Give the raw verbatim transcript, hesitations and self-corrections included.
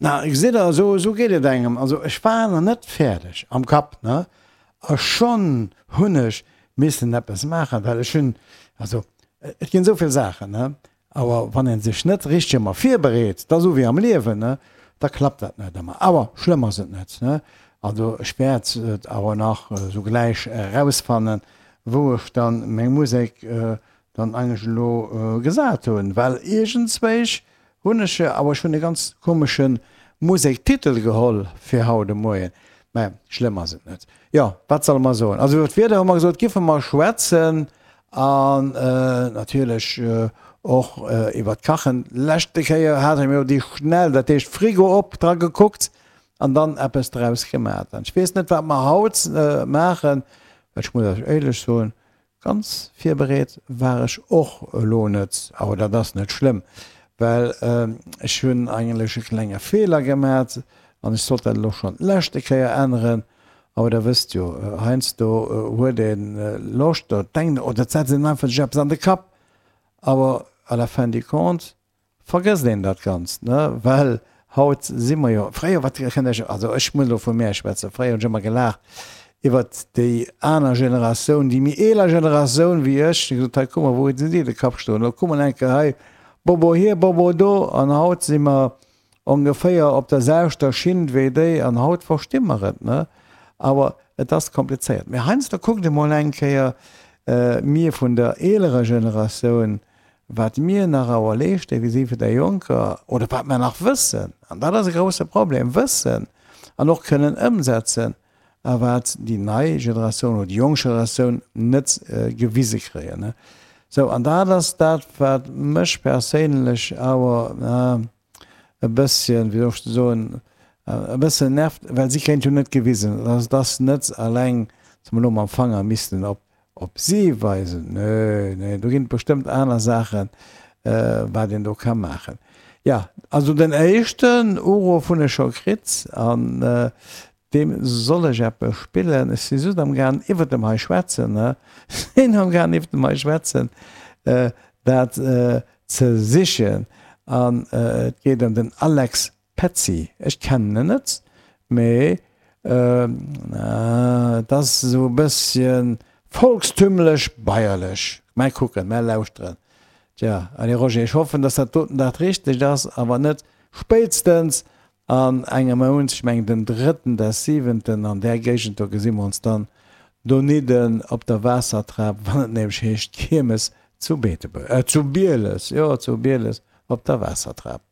Na, gesitt Der, esou, esou geet et engem. Also ech war nach net fäerdeg am Kapp, ne, a schonn hunn ech missen eppes maachen, well ech hunn, also et ginn esou vill Saachen, ne, awer wann ee sech net richteg ëmmer virbereet, dat ass esou wéi am Liewen, ne, da klappt dat net ëmmer. Awer schlëmm ass et net, ne. Also ech wäert et awer nach esou gläich erausfannen, wou ech dann meng Musek dann eigentlech elo gesat hunn, well iergendzwéich hunn ech jo, awer ech hunn e ganz komesche Musektitel geholl fir haut de Moien. Mä schlëmm ass et net. Jo, wat solle mer soen? Also iwwer d'Wieder hu mer gesot, giffe mer schwätzen an natierlech och iwwer d'Kachen. Leschte Kéier hate mir jo déi schnell, dat heescht Frigo op, dra gekuckt an dann eppes draus gemat. An ech weess net, wat mer haut maachen, well ech muss Iech éierlech soen, Ganz virbereet war ech och elo net, awer dat ass net schlëmm, well ech hunn eigentlech e klenge Feeler gemat an ech sollt dat elo schonn d'leschte Kéier änneren. Awer der wësst jo, heiansdo huet ee Loscht oder denkt oder et setzt een einfach sech eppes an de Kapp, awer à la fin du compte Vergësst een dat Ganzt, ne? Well haut si mer jo, fréier, wat kënnt Iech, also ech muss elo vu mär schwätzen, fréier hunn ech ëmmer gelaacht iwwert déi aner Generatioun, déi méi eeler Generatioun wéi ech, déi gesot, hei kuck mol, wou hunn si de Kapp stoen, elo kuck mol eng Kéier hei, Bobo hier, Bobo do, an haut si mer ongeféier op der selwechter Schinn wéi déi an haut versti mer et, ne? Awer et ass komplizéiert. Mee heiansdo kuckt emol eng Kéier, mir vun der eelerer Generatioun, wat mir nach awer leeschten vis-à-vis vun der Jonker, oder wat mer nach wëssen, an dat ass e grouse Problem, wëssen an och kënnen ëmsetzen, a wat déi nei Generatioun oder déi jonk Generatioun net gewise kréien. Sou, an dat ass dat, wat mech perséinlech awer e bësschen, wéi soll ech soen, e bëssen nervt, well si kréien et jo net gewisen. Et ass net eleng, datt mer elo mam Fanger missten op Op si weisen? Nö, nee, do ginn et bestëmmt aner Saachen, wat een do ka maachen. Jo, also den éischten Uruff hunn ech scho kritt an deem soll ech eppes spillen. Ech si just amgaang iwwert dem hei schwätzen, ne, sinn amgaang iwwert dem hei schwätzen, dat ze sichen. An et geet ëm den Alex Petzi. Ech kennen en net, mee Et ass esou e bësschen volkstümlech bayerlech. Mä kucken, mä lauschteren. Tja, allez Roger, ech hoffen, dass dat doten dat Richtegt ass, a wann net, spéitstens an engem Mount, ech mengen den drëtten des siwenten, an där Géigend do gesi mer ons dann donidden op der Waassertrap, wann et nämlech heescht Kiermes zu Beetebuerg, äh zu Bieles, jo zu Bieles op der Waassertrap.